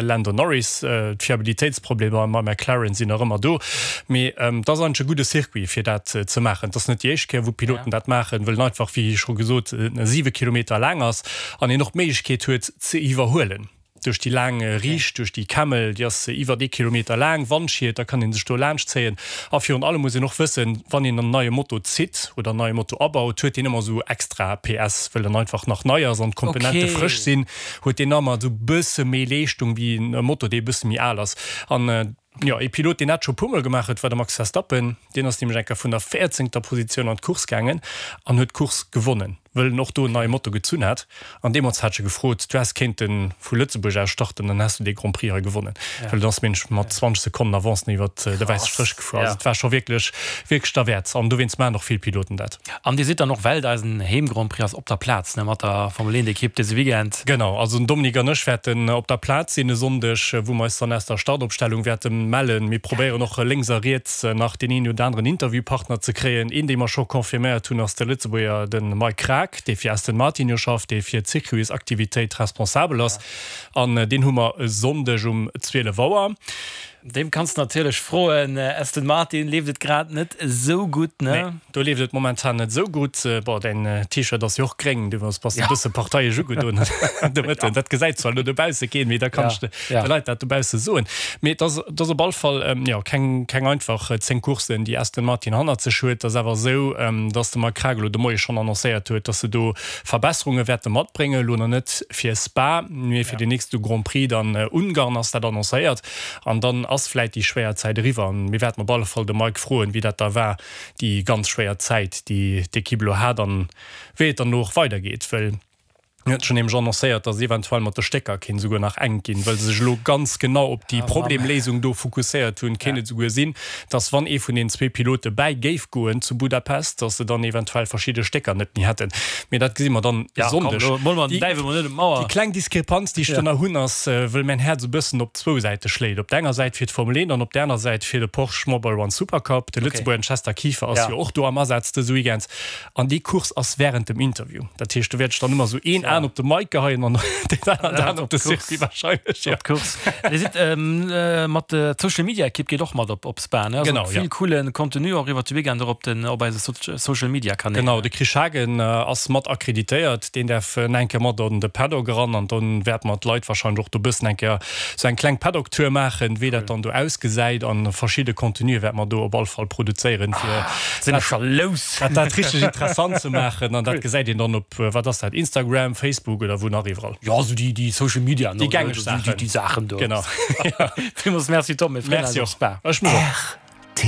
Lando Norris. D'Fiabilitéitsproblemer mam McLaren sinn nach ëmmer do, mee et ass eigentlech e gudde Circuit fir dat ze maachen. Et ass net déi éischt Kéier wou Piloten dat maachen, wëll en einfach, wéi scho gesot, 7 Kilometer laang ass an een och d'Méiglechkeet huet ze iwwerhuelen duerch déi laang Riicht, duerch déi Kemmel, déi ass iwwert ee Kilometer laang, Wandschiet, da kann ee sech do laanscht zéien. A virun allem muss een och wëssen, wann een en neie Moto zitt oder en neie Moto abaut, huet deen ëmmer esou extra PS, wëll en einfach nach nei ass an d'Komponente frësch sinn. Huet deen ëmmer esou bësse méi Leeschtung wéi en Moto, dee e bësse méi al ass. An jo, ee Pilot, deen dat scho puer Mol gemaach huet, war de Max Verstappen. Deen ass nämlech eng Kéier vun der véierzéngter Positioun an d'Course gaangen an huet d'Course gewonnen, wëll en och do en neie Moto gezunn hat. An deemools hat ech e gefrot, Du häss kéinte vu Lëtzebuerg aus starten, dann häss du dee Grand Prix hei gewonnen. Well en ass mensch mat 20 Sekonnen Avance iwwer de wäisse Stréch gefuer. Also et war scho wierklech, wierklech derwäert. An dowéinst maachen och vill Piloten dat. An Dir sidd dann och, well et eisen Heem-Grand Prix ass, op der Plaz, ne, mat der Formel 1 Ekipp dëse Weekend? Genau, also den Dominique an ech wäerten op der Plaz sinn e Sonndeg, wou mer eis dann aus der Startopstellung wäerte mellen. Mir probéieren och lénks a riets nach deen een oder aneren Interviewpartner ze kréien. Een, dee mer scho confirméiert hunn, ass de Lëtzebuerger, de Mike Krack, dee fir Aston Martin jo schafft, dee fir d'Circuitsaktivitéit responsabel ass. An deen hu mer e Sonndeg um 12 Auer. Deem kanns de natierlech froen. Aston Martin leeft et grad net esou gutt, ne? Nee, do leeft et momentan net esou gutt. Bon, däin T-Shirt ass jo och gréng, du bass e bësse parteiesch ugedoen de Mëtten. Dat gesäit zwar elo dobausse keen, mee da kann ech de Leit dat dobausse soen. Mee et ass, et ass op all Fall, jo, keng, keng einfach 10 Courssen, déi Aston Martin hannert sech huet. Et ass awer esou, dass de Mike Krack elo de Moie schonn annoncéiert huet, dass se do Verbesserunge wäerte matbréngen. Elo nach net fir Spa, mee fir den nächste Grand Prix dann Ungarn ass dat annoncéiert. An dann ass vläit déi schwéier Zäit eriwwer. An mir wäerten op alle Fall de Mike froen, wéi dat da war, déi ganz schwéier Zäit, déi d'Ekipp elo hat an wéi et dann elo och weidergeet. Well hien huet schonn nämlech annoncéiert, datt eventuell mat de Stécker kéint esouguer nach enk ginn, well se sech elo ganz genau op déi Problemléisung do fokusséiert hunn. Kéint et esouguer sinn, datt wann ee vun den zwee Pilote bäi géif goen zu Budapest, datt se dann eventuell verschidde Stécker net méi hätten. Mee dat gesi mer dann e Sonndeg. Déi kleng Diskrepanz, déi ech do nach hunn, ass, wëll mäin Häerz e bëssen op zwou Säite schléit. Op der enger Säit fir d'Formel 1 an op der aner Säit fir de Porsche Mobile One Supercup. De Lëtzebuerger Chester Kieffer ass jo och do am Asaz dëse Weekend. An déi Course ass wärend dem Interview. Dat heescht, do wäert ech dann ëmmer esou een Aen op de Mike geheien an deen aneren Aen op de Circuit warscheinlech. Op d'Course. Dir sidd mat der Social Media Ekipp geet och mat op Spa, ne? Also vill coolen Contenu och iwwert de Weekend och op den op eise Social Media Kanäl. Genau, de Chris Schagen ass mat akkreditéiert, deen däerf eng Kéier mat an de Paddock eran an dann wäerte mer d'Leit warscheinlech och do bëssen eng Kéier sou eng kleng Paddock-Tour maachen, wéi dat dann do ausgesäit an verschidde Contenue wäerte mer do op all Fall produzéieren, fir Sinn ech scho lous! dat dat richteg interessant ze maachen an dat gesäit een dann op, wat ass dat, Instagram, Facebook oder wou nach iwwerall. Jo, sou déi déi Social Media, Déi gängeg Saachen. Déi Saachen do. Genau. Villmools Merci Tom, mir freeën eis op Spa. Ech mech och.